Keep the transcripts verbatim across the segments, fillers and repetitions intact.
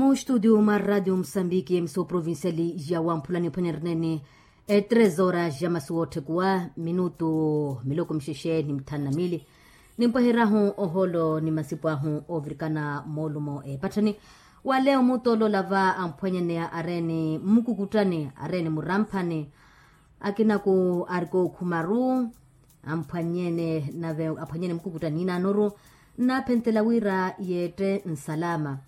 Mu studio mwa radio musambiki emiso provinciali ya wamphula niphwanya rinene. Etres horas ya masuwa otthekuwa minutu miloko mixexe ni mithanu na mili. Nimpweherahu oholo ni masipu ahu ovirikana moolumo epatthani. Wale omutoloola va amphwanyaneya areeni mmukukuttani areeni muramphani. Akinaku arikookhumaru amphwanyene nave aphwanyene mukukutta niinaanoru. Nnaaphenttela wira yeette nsalama.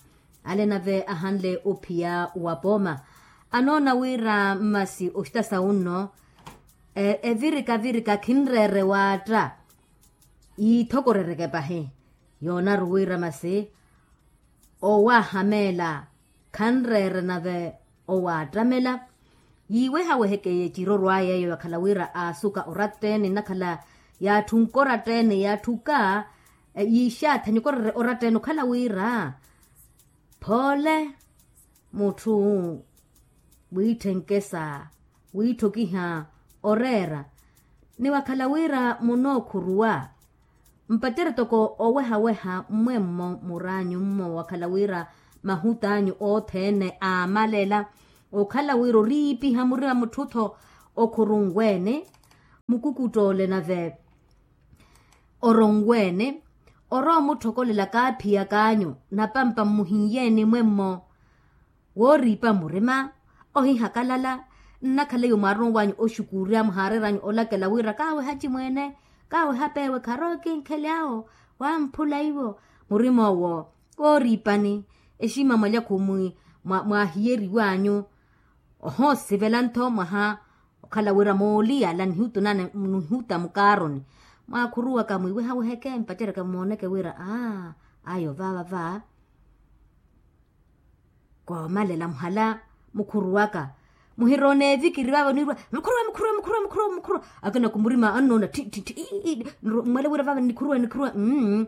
Ale nave ahanle ophiya wa pooma anoona wira mmasi oxita sawunno evirika virika khinreere waatta. Yiithokorereke pahi yoonaru wira masi owaahameela khanreere nave owaattamela. Yiiwehaweheke ecirorw'aya eyo yakhala wira aasuka oratteni nnakhala yaatthu nkora tteni yaatthuka yiixaatha nikoreere oratteni okhala wira phoole mutthu wiitthenke sa wiitthokiha oreera. Ni wakhala wira munookhuruwa mpacerya toko owehaweha mmwemmo muraanyu mmo wakhala wira mahut'anyu othene aamalela okhala wira oriipiha murima mutthu-tho okhurunweene mukukuttoole nave oronweene orowa omutthokolela kaaphiyak'anyu napampa mmuhinyeeni mwemmo wooriipa murima ohihakalala. Nnakhala iyo mwaaronw'anyu oxukuurya muhaareer'anyu olakela wira kaaweha acimweene kaaweha peewe kharowa ekinkhele awo wamphula iwo murima owo wooriipani exima mwalya khumwi mwaahiyeriw'anyu ohoosivela ntho mwaha okhala wira mooliyala nihuta mukaaroni mwaakhuruwaka mwiiwehaweheke mpaceryaka mmooneke wira aa ayo vaava va koomalela muhala mukhuruwaka muhiroona evikiri vaava niirwa mukhuruwe mukhuruwe mukhuruwe mukhuruwe mukhuruwe akina kumurima annoona thi thi thi. Mmwele wira vaava nikhuruwe nikhuruwe mmm.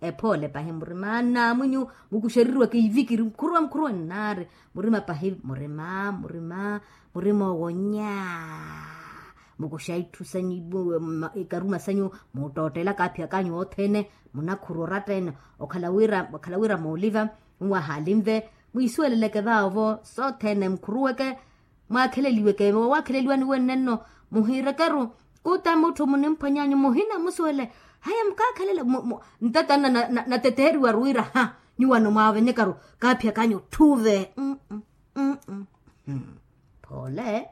Ephoole pahi murima nnamwinyu mukuxereriwaka ivikiri mukhuruwe mukhuruwe nnaari murima pahi murima murima murima owo nyaa. Mukuxa itthu sanyu ikaruma sanyu muttoottela kaaphiyak'anyu othene munakhuru oratta ene okhala wira okhala wira mooliva muwahaali nve mwiisuweleleke vaavo sothene mukhuruweke mwaakheleliweke woowakheleliwani wenne nno muhiirekeru kuta mutthu munimphwanyanyu muhina musuwele haya mukaakhelela ntatanna nateteeriwaru wira ha nyuwano mwaavenyekaru kaaphiyak'anyu otthuve. Phoole